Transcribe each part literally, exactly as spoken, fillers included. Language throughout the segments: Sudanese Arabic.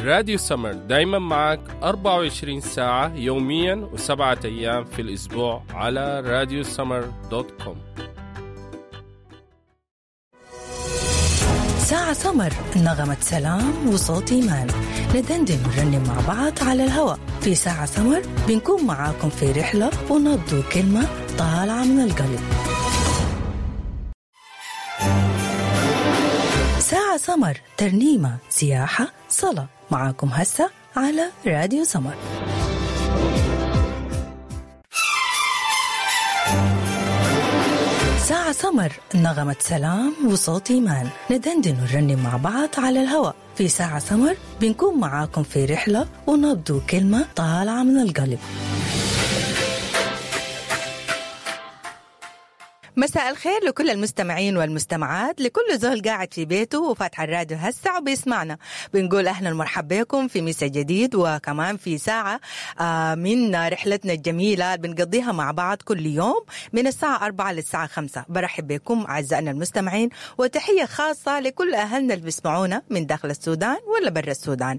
راديو سمر دايما معك أربعة وعشرين ساعة يوميا وسبعة أيام في الأسبوع على راديو سمر dot com. ساعة سمر، نغمة سلام وصوت إيمان، ندندن ونرنم مع بعض على الهواء. في ساعة سمر بنكون معاكم في رحلة ونبض كلمة طالعة من القلب. ساعة سمر، ترنيمة، سياحة، صلاة، معاكم هسه على راديو سمر. ساعة سمر، نغمة سلام وصوت إيمان، ندندن ونرنم مع بعض على الهواء. في ساعة سمر بنكون معاكم في رحلة ونبض كلمة طالعة من القلب. مساء الخير لكل المستمعين والمستمعات، لكل زول قاعد في بيته وفاتح الراديو هسه وبيسمعنا. بنقول اهلا ومرحبا بكم في مسا جديد، وكمان في ساعة من رحلتنا الجميلة اللي بنقضيها مع بعض كل يوم من الساعة أربعة للساعة خمسة. برحب بكم أعزائنا المستمعين، وتحية خاصة لكل أهلنا اللي بيسمعونا من داخل السودان ولا برا السودان،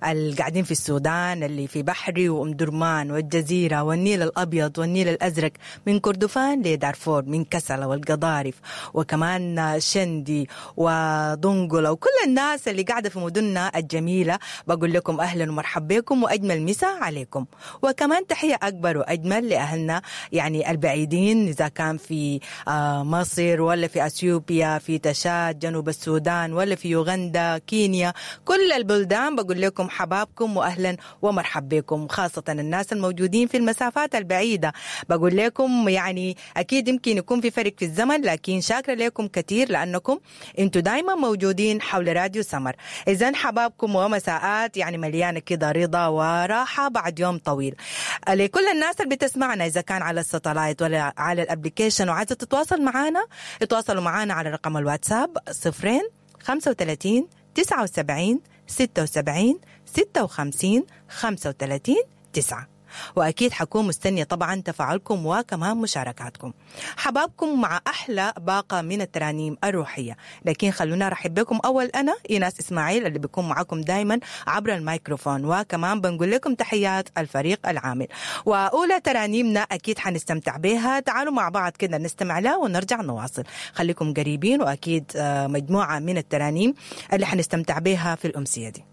اللي قاعدين في السودان، اللي في بحري وأم درمان والجزيرة والنيل الأبيض والنيل الأزرق، من كردفان لدارفور، من كسلة والقضارف، وكمان شندي ودنقلة، وكل الناس اللي قاعدة في مدننا الجميلة. بقول لكم أهلا ومرحبا بكم وأجمل مساء عليكم. وكمان تحية أكبر وأجمل لأهلنا يعني البعيدين، إذا كان في مصر ولا في أثيوبيا، في تشاد، جنوب السودان، ولا في يوغندا، كينيا، كل البلدان. بقول لكم حبابكم وأهلا ومرحبا بكم، خاصة الناس الموجودين في المسافات البعيدة. بقول لكم يعني أكيد يمكن يكون في فرق في الزمن، لكن شاكرة لكم كثير لأنكم انتوا دايما موجودين حول راديو سمر. إذن حبابكم ومساءات يعني مليانة كده رضا وراحة بعد يوم طويل. لكل الناس اللي بتسمعنا إذا كان على ال satellite ولا على ال application وعايزة تتواصل معنا، اتواصلوا معنا على رقم الواتساب صفرين خمسة وثلاثين تسعة وسبعين ستة وسبعين ستة وخمسين خمسة وثلاثين تسعة. وأكيد حكون مستنية طبعا تفاعلكم وكمان مشاركاتكم. حبابكم مع أحلى باقة من الترانيم الروحية. لكن خلونا رحب بكم أول، أنا إيناس إسماعيل اللي بيكون معكم دايما عبر الميكروفون، وكمان بنقول لكم تحيات الفريق العامل. وأولى ترانيمنا أكيد حنستمتع بها، تعالوا مع بعض كده نستمع لها ونرجع نواصل. خليكم قريبين، وأكيد مجموعة من الترانيم اللي حنستمتع بها في الأمسية دي.